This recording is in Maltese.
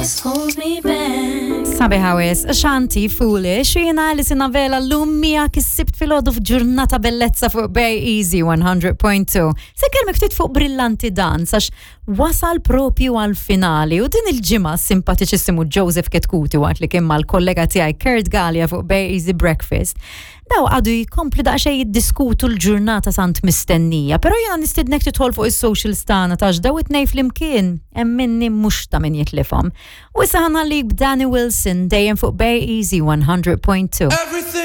Hold me back. Sabiħa wis, Shanti Foolish, jiena Alison Avela l-lum miegħek is-Sibt filgħodu f'ġurnata bellezza fuq Bay Easy 100.2. Se kelmek ftit fuq Brillanti Dance għax wasal propju għal finali u din il-ġimgħa simpatiċissimu Joseph Ketkuti waqt li kien mal-kollega tiegħi Kurt Gallia fuq Bay Easy Breakfast. Daw għadu jkomplu daqsxejn jiddiskutu l-ġurnata tant mistennija, però jiena nistidnek tidħol fuq is-socials tagħna tax daw it-tnejn flimkien hemm minni mhux ta' min jitlifhom. U issa ħanallik b'Danny Wilson dejjem fuq Bay Easy 100.2. Everything.